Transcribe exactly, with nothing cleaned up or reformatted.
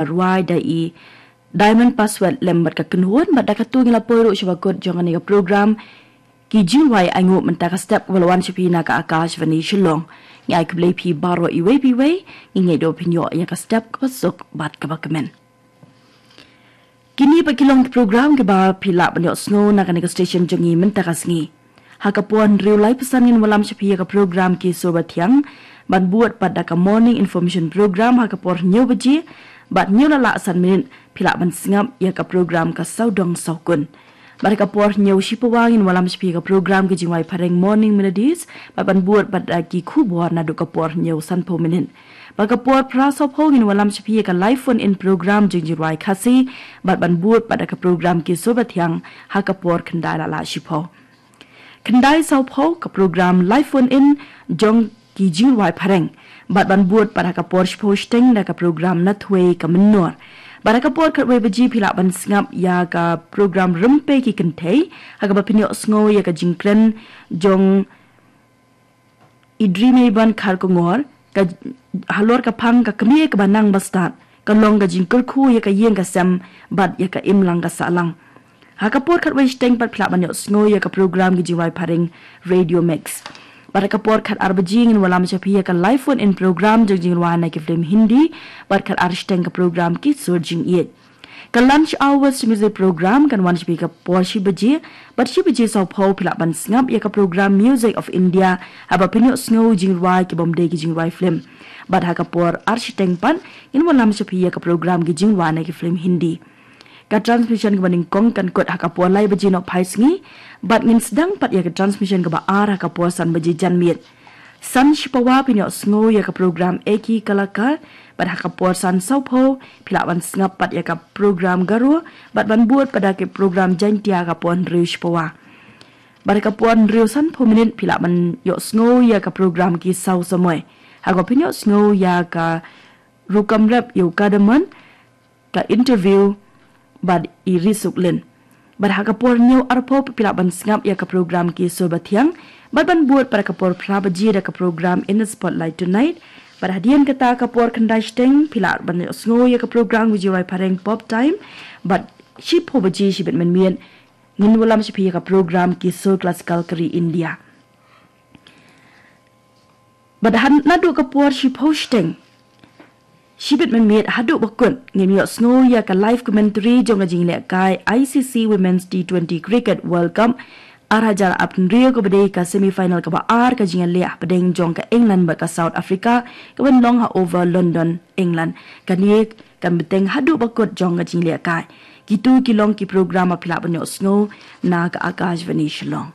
rwai da i Diamond Password lem bad ka kynhun bad da katu ngi la poi ruh sha ba kut jong kane ka program. Ki jingrwai ainguh mynta ka step kaba la wan sha phi na ka Akashvani Shillong. Ngi ai khublei phi baroh iwei pa iwei, ngi ngeit ba phin ïoh ïa ka step kaba suk bad kaba kmen. Kine pat ki long ki program kiba phi lah ban ïohsngew na kane ka station jong ngi mynta ka sngi. Ha ka por hynriew laiphew san ngin wallam sha phi ïa ka program Ki Sur Bathiang, ban bud pat da ka Morning Information Program ha ka por hynñiew baje, bad hynñiew la lah san minit phi lah ban sngap ïa ka program Ka Sawdong Sawkun. Bad ha ka por hynñiew shipawa ngin wallam sha phi ïa ka program Ki Jingrwai Phareng Morning Melodies, bad ban bud pat da ki khubor naduh ka por hynñiew sanphew minit. Bad ka por phra sawphew ngin wallam sha phi ïa ka live phone in program jong jingrwai Khasi, bad ban bud pat da ka program Ki Sur Bathiang ha ka por khyndai la lah shiphew. Khyndai sawphew ka program live phone in jong ki jingrwai phareng. Bad ban bud pat ha ka por shiphew shiteng da ka program Nathwei ka Mynnor. Bad ha ka por khatwei baje phi lah ban sngap ïa ka program Rympei ki Kynthei, ha kaba phin ïohsngew ïa ka jingkren jong i Dri Mei Ban Kharkongor, ka halor ka phang Ka Kmie Kaba Nang Bastad, ka long ka jingkyrkhu ïa ka ïing ka sem bad ïa ka imlang ka sahlang. Ha ka por khatwei shiteng pat phi lah ban ïohsngew ïa ka program Ki Jingrwai Phareng Radio Mix. Bad ha ka por khatar baje ngin wallam sha phi ïa ka live phone in program jong jingrwai na ki film Hindi, bad khatar shiteng ka program Ki Sur Jingïeit. Ka lunch hours music program kan wan sha phi ka por shi baje, bad shi baje sawphew phi lah ban sngap ïa ka program Music of India, haba phin ïohsngew jingrwai ki bym dei ki jingrwai film. Bad ha ka por ar shiteng pat ngin wallam sha phi ïa ka program Ki Jingrwai na ki film Hindi. Ka transmission kaba nyngkong kan kut ha ka por lai baje nohphai sngi, bad ngin sdang pat ïa ka transmission kaba ar ha ka por san baje janmiet. San shipawa phin ïohsngew ïa ka program Ek Hi Kalakar, bad ha ka por san sawphew phi lah ban sngap pat ïa ka program Garo, bad ban bud pat da ka program Jaintia ha ka por hynriew shipawa. Bad ha ka por hynriew sanphew minit phi lah ban ïohsngew ïa ka program Ki Saw Samoi, ha kaba phin ïohsngew ïa ka rukom rep ïa u Kadaman, ka interview bad i Ri Suk Lin. Bad ha ka por hynñiew arphew phi lah ban sngap ïa ka program Ki Sur Bathiang, bad ban bud pat ha ka por phra baje da ka program In the Spotlight Tonight. Bad hadien kata ha ka por khyndai shiteng phi lah ban ïohsngew ïa ka program Ki Jingrwai Phareng Pop Time, bad shiphew baje shibit mynmiet ngin wallam sha phi ïa ka program Ki Sur Classical ka ri India. Bad ha naduh ka por shiphew shiteng shibit mynmiet haduh ba kut ngin ïohsngew ïa ka live commentary jong ka jinglehkai I C C Women's T twenty Cricket World Cup ar hajar arphew hynriew, kaba dei ka semi final kaba ar ka jingïaleh hapdeng jong ka England bad ka South Africa, kaban long ha Oval London, England. Kane kan bteng haduh ba kut jong ka jinglehkai. Kitu ki long ki program ba phi lah ban ïohsngew na ka Akashvani Shillong.